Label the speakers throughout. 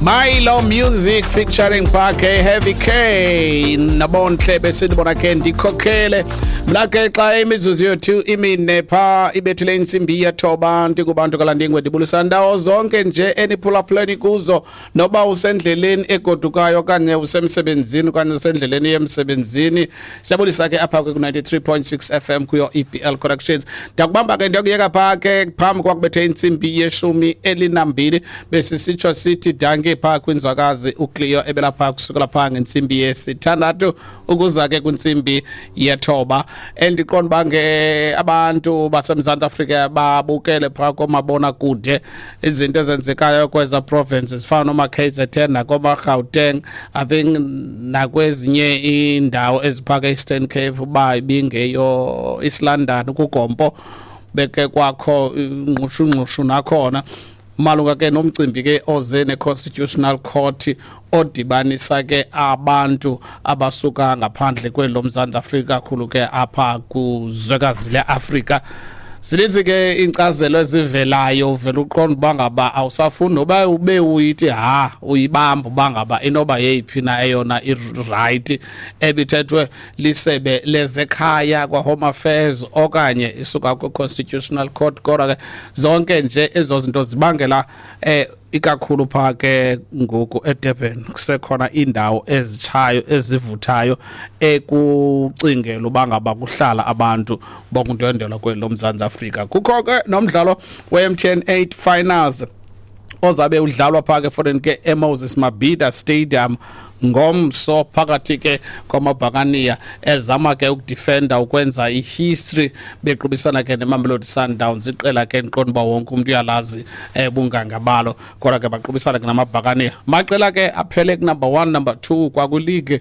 Speaker 1: Milo Music featuring Parke Heavy K nabonhle besithi bona ke ndikhokhele mna ke xa imizuzu yethu imine pha ibethile intsimbi yethoba ndingubantu kalandingwe ndibulisa ndawo zonke nje eniphulaphuleni kuzo noba usendleleni egodukayo okanye usemsebenzini okanye usendleleni yemsebenzini. Siyabulisa ke apha ku-93.6 FM kuyo EBL Connections. Ndiyakubamba ke ndiyakuyeka pha ke phambi kwakubethe intsimbi yeshumi elinambili, besisitsho sithi danke pha kwinzwakazi uCleo ebelapha kusukela pha ngentsimbi yesithandathu ukuza ke kwintsimbi yethoba. Endiqonda uba ke abantu baseMzantsi Afrika babukele pha koomabonakude izinto ezenzekayo kweza provinces zifana noma-KZN nakoma-Gauteng, I think nakwezinye iindawo eziphaka Eastern Cape, uba ibingeyo East London kugompo beke kwakho ingqushungqushu nakhona malunga ke nomcimbi ke oze ne-Constitutional Court odibanisa ke abantu abasuka ngaphandle kwelo Mzantsi Afrika, kakhulu ke apha kuzwekazi leAfrika. Zininzi ke iinkcazelo ezivelayo, uvela uqonda uba ngaba awusafuni noba ube uyithi ha uyibamba uba ngaba inoba yeyiphi na eyona irayithi ebithethwe lisebe lezekhaya kwa-Home Affairs okanye isuka kwi-Constitutional Court. Kodwa ke zonke nje ezo zinto zibangela ikakhulu pha ke ngoku eDurban kusekhona iindawo ezitshayo ezivuthayo ekucingela uba ngaba kuhlala abantu bokundwendwela kweli loMzantsi Afrika. Kukho ke nomdlalo we-MTN 8 finals ozabe udlalwa pha ke foreign ke eMoses Mabhida Stadium ngomso phakathi ke kwamabhakaniya ezama ke ukudefenda ukwenza ihistory bequbisana ke neMamelodi Sundowns, iqela ke ndiqonda uba wonke umntu uyalazi bunganga balo. Kodwa ke baqubisana ke namabhakaniya, maqela ke aphele kunumber 1, number 2 kwakwiligi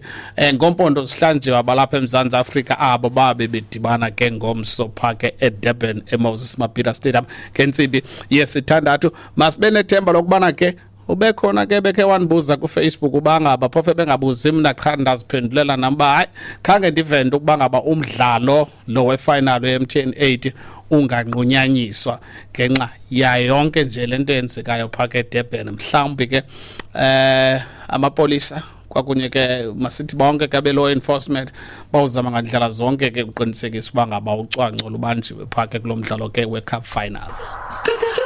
Speaker 1: ngompondo zihlanjiwe abalapha eMzantsi Afrika abo babe bedibana ke ngomso pha ke eDurban eMoses Mabhida Stadium ngentsimbi yesithandathu. Masibe nethemba lokubana ke ube khona ke bekhe wandibuza kuFacebook uba ngaba phofu bengabuzi mna qha ndaziphendulela nam uba hayi khange ndive nto ukuba ngaba umdlalo lo wefinal we-MTN 8 unganqunyanyiswa ngenxa yayo yonke nje le nto yenzekayo phaa ke eDurban. Mhlawumbi ke amapolisa kwakunye ke masithi bonke ke abe-law enforcement bawuzama ngandlela zonke ke uqinisekisa uba ngaba ucwangco lubanjiwe phaa ke kulo mdlalo ke we-cup final.